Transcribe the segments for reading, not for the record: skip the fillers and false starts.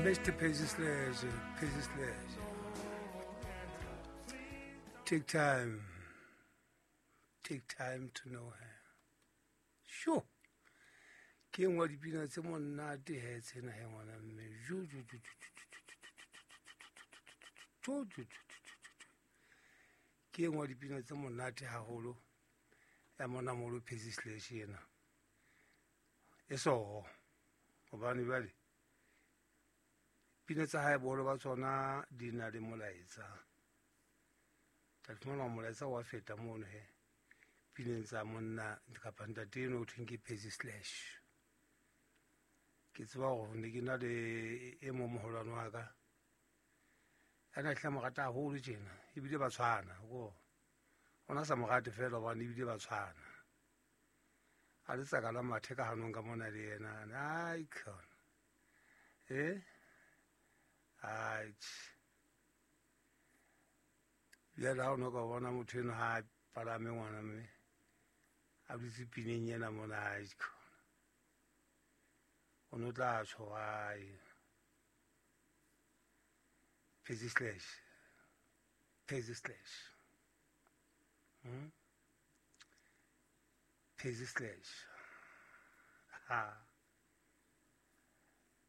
Mr. Percy Sledge, Percy Sledge. Take time. Take time to know her. Sure. Ke e nngwe ya dipina tse monate he tsena he ngwana mme. Jo jo jo jo jo jo jo jo. Ke e nngwe ya dipina tse monate haholo ya monamolo Percy Sledge ena. E soho. Hobane jwale pina tsa hae boholo ba tsona di na le molaetsa. Tla fumana molaetsa wa feta mono he pineng tsa monna kapa ntate eno o thweng ke Percy Sledge. Ke tseba hore ne ke na le e mong moholwane wa ka a na hlile mo rata haholo tjena, ebile ba tshwana ko ona sa mo rate fela hobane ebile ba tshwana. A le tsaka la mathe ka hanong ka mona le yena. Ai khona. Eh? Ai. Jwale ha o no ka bona motho eno ha a palame ngwana mme a dutse pineng ena mona, ai khona. O no tla tjho ai. Percy Sledge. Percy Sledge. Percy Sledge. Ha.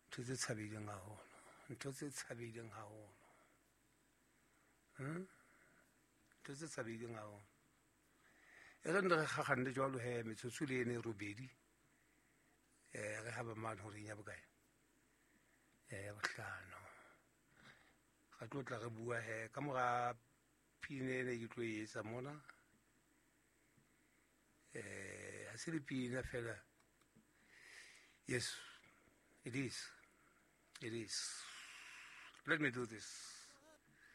Ntho tse tshabeileng haholo. Ntho tse tshabeileng haholo. Ntho tse tshabeileng haholo. E re nne re kgakganne jwalo he metsotso le ene e robedi. Re haba mane horeng ya bokae? Ya bohlano. Re tlo tla re bua he ka mora pina ena ke tlo e etsa mona. Ha se le pina fela. Yes, it is. It is. Let me do this.